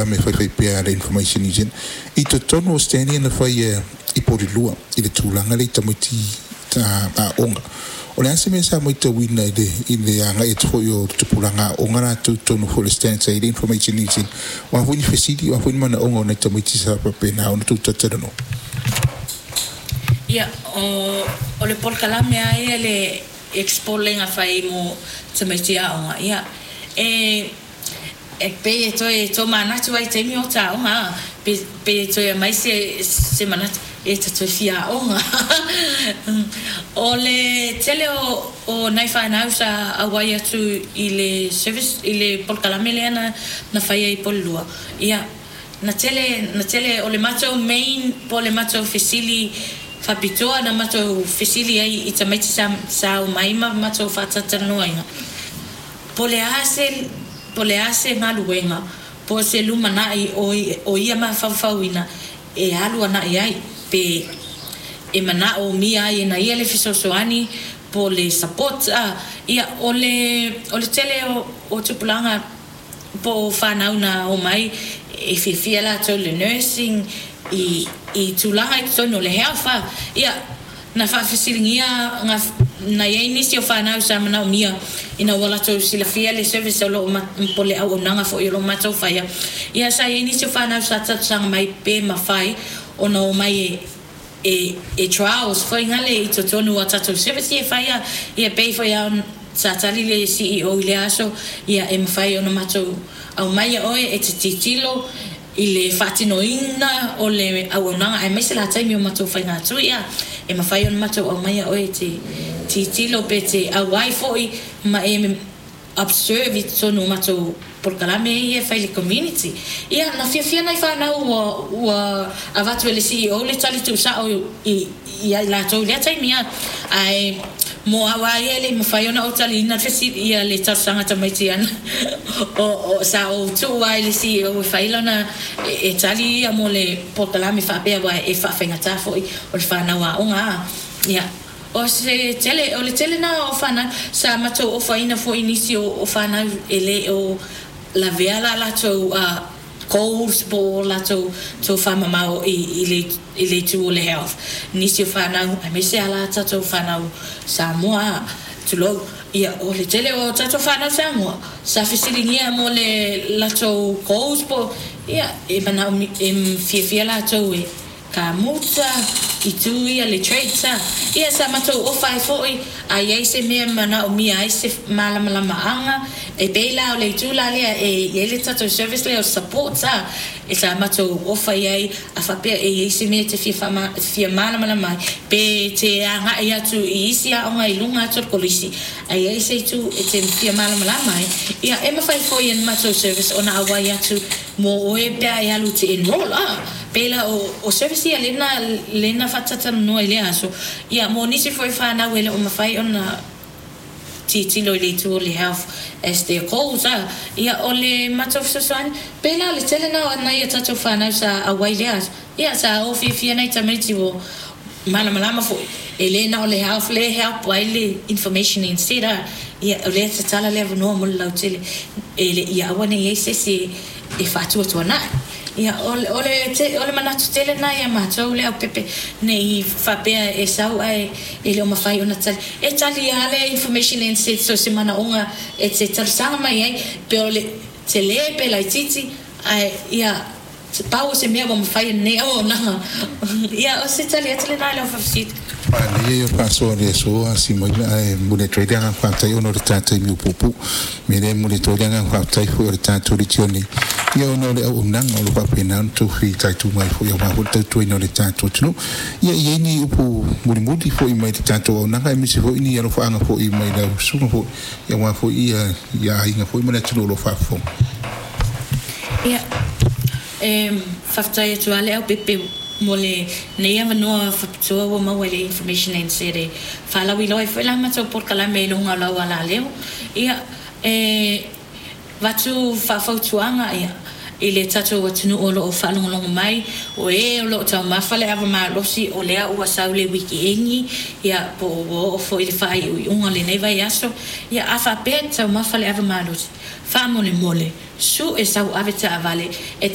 Me faifai pea le Information New Zealand i totonu o Stanley na fai i Porirua i le tulaga lea i tamaiti aoga. O le a se mea sa matauina i le agai atu foi o tupulaga aoga latou totonu foi o le stand sa i le Information New Zealand? O a foi ni fesili, o a foi ni manaoga o nai tamaiti sa faapena ona tou talatalanoa? Ia, o le polokalame a ia le expo lega fai mo tamaiti aoga, ia, e pei e toe tomanatu ai taimi o taoga a pe e toe aumai se manatu e ta toe fia aoga. O le tele o nai fanau sa auai atu i le service i le polokalame lea na faia i Porirua, ia, na tele o le matou main po o le matou fesili faapitoa na matou fesili ai i tamaiti sa omai ma matou faatalatalanoaina, po o le a se galuega po o se lumanai o ia mafaufauina e alu anai ai pe e manaomia ai e na ia le fesoasoani po o le support a. Ia, o le tele o tupulaga po o fanau na omai e fiafia latou i le nursing i tulaga i totonu o le health a. Ia, na faafesiligia na i ai nisi o fanau sa manaomia ina ua latou silafia le service o loo po o le auaunaga foi o loo matou faia. Ia, sa i ai nisi o fanau sa talosaga mai pe mafai ona omai e trials foi gale i totonu o tatou service ia e faia. Ia, pei foi a sa tali le CEO i lea aso, ia, e mafai ona matou aumaia oe e te tilotilo i le faatinoina o le auaunaga aemaise la taimi o matou faigatui. Ia, e mafai ona matou aumaia oe e te tilotilo pe te auai foi ma e observe i totonu o matou polokalame ia e fai i le community. Ia, na fiafia nai fanau ua avatu e le CEO le tali tuusao i ai latou i lea taimi a. Ae mo au a ia e le mafai ona ou taliina fesili ia le talosaga tamaiti ana o sa ou tuu ai le CEO e fai lana e tali ia mo le polokalame faapea, aua e faafaigata foi o le fanau aoga a. Ia, o se tele o le tele na o fanau sa matou ofaina foi nisi o fanau e le o lavea la latou goals po o latou tofamamao i le itu o le health. Nisi o fanau, aemaise lava tatou fanau Samoa, tulou. Ia, o le tele o tatou fanau Samoa sa fesiligia mo le latou goals po, ia, e manao e fiafia latou e kamuta itu ia le trades a. Ia, sa matou ofa ai foi a i ai se mea manaomia ai se malamalamaaga e pei la o le itu la lea e i ai le tatou service lea o support a e sa matou ofa i ai a faapea e i ai se mea te fia malamalama ai pe te agai atu i isi aoga i luga atu o le kolisi a i ai se itu e te fia malamalama ai. Ia, e mafai foi e le matou service ona auai atu mo oe pe a e alu te enroll a. Pei la o service ia lena faatatalanoa i lea aso. Ia, mo nisi foi fanau e le o mafai ona tilotilo i le itu o le health as their goals a. Ia, o le matou fesoasoani pei la o le tele na o nai a tatou fanau sa auai lea aso. Ia, sa o fiafia nai tamaiti ua malamalama foi e le na o le health le help ai le information instead a. Ia, o lea tatala le avanoa mo le lautele e le ia aua nei ai se isi e faatuatuanai. Ia, o le manatu tele na ia matou le aupepe nei faapea e sau ae e le o mafai ona tali e tali lava le Information NZ so se manaoga e te talosaga mai ai pe o le tele pe laitiiti. Ae ia, pau o se mea ua mafai e lenei auaunaga. Ia, o se tali atu lena i lau faafesili. Manaia ia faasoa le aso a Simaina, ae momoli atu ai le agaga faafetai ona o le ta taimi ua puupuu. Me lea e momoli atu ai le agaga faafetai foi o le tatou litioni, ia, ona o le auaunaga o lo faapena ona tou fitaituga ai foi aua foi le tautuaina o le tatou atunuu. Ia, i ai ni upu mulimuli foi mai le tatou auaunaga, aemaise foi ni alofaaga foi mai lau susuga foi, aua foi ia aiga foi ma le atunuu o lo o faafofoga? Ia, e faafetai atu lava le aupepe mo lenei avanoa faapitoa ua maua i le Information NZ e faalauiloa ai foi la matou polokalame i luga o lau alaleo. Ia, e avatu faafautuaga, ia. I le tatou atunuu o loo faalogologo mai, o e o loo taumafa le ava malosi, o lea ua sau le weekend, ia po ua oo foi i le faaiuiuga o lenei vaiaso. Ia a faapea e te taumafa le ava malosi, faamolemole, sue sau ave taavale e.